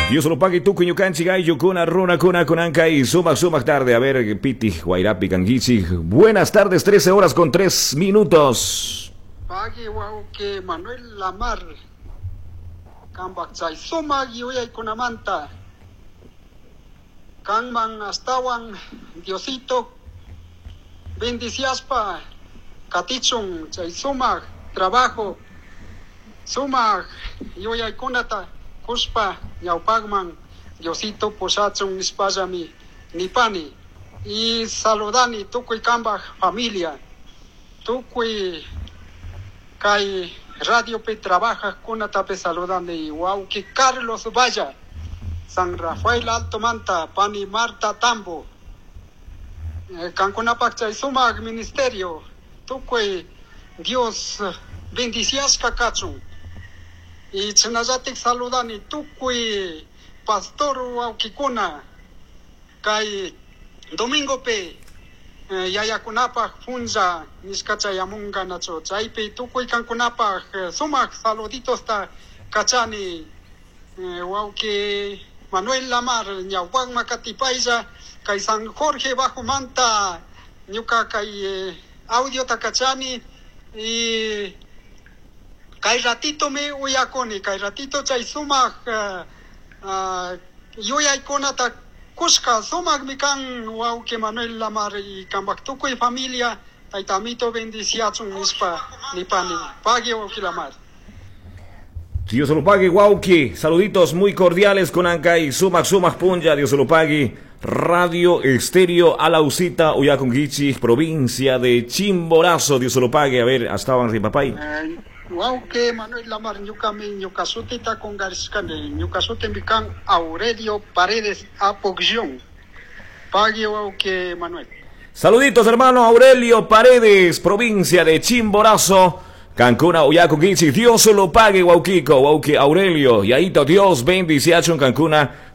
Dios lo pague tukuy ñukanchik ayllukuna runakuna kunankay sumaq sumaq tarde. A ver, Piti, Guairapi, Kanguichi. Buenas tardes, 13 horas con 3 minutos. Pagui wawqi Manuel Lamar kambak chay sumak yuyaykunamanta kanman astawan Diosito bendiciaspa katichun chay sumak trabajo sumak yuyaykunata kushpa ñawpakman Diosito pushachun nishpallami nipani y saludani tukuy kambak familia tukuy kay radiopi trabajaqkunatapi saludani wawqi Carlos Valla San Rafael Alto Manta pani Marta Tambo kankunapak chay sumak ministerio tukuy Dios bendiciashka kachun y chinallatik saludani tukuy pastor wawqikuna kay domingopi yayakunapaj punlla nishka chayamunka nachu chaypi tukuy kankunapaj sumak saluditosta kachani wawqi Manuel Lamar ñawpakma katipaylla kay San Jorge Bajo Manta ñuka kay audiota kachani y kay ratito mi uyakuni kay ratito chay sumak yuyaykunata kushka sumakmi kan wawqi Manuel Lamar y kambak tukuy familia tayta amito bendiciachun nishpa nipani pagui wawqi Lamar. Dios lo pague, wawqi. Saluditos muy cordiales con Ancay. Sumak, sumak, punlla. Dios lo pague. Radio Estéreo Alausita, Uyakunguichi, provincia de Chimborazo. Dios lo pague. A ver, hasta papay. Wawqi Manuel Lamar, ñukami ñuka sutita kungarishkani. Ñuka sutimi kan Aurelio Paredes Apogllón. Pagui, wawqi Manuel. Saluditos, hermano Aurelio Paredes, provincia de Chimborazo. Cancuna, Uyakunguichi, Dios lo pague, wawqiko, wawqi Aurelio, y ahí Dios bendice en Cancuna.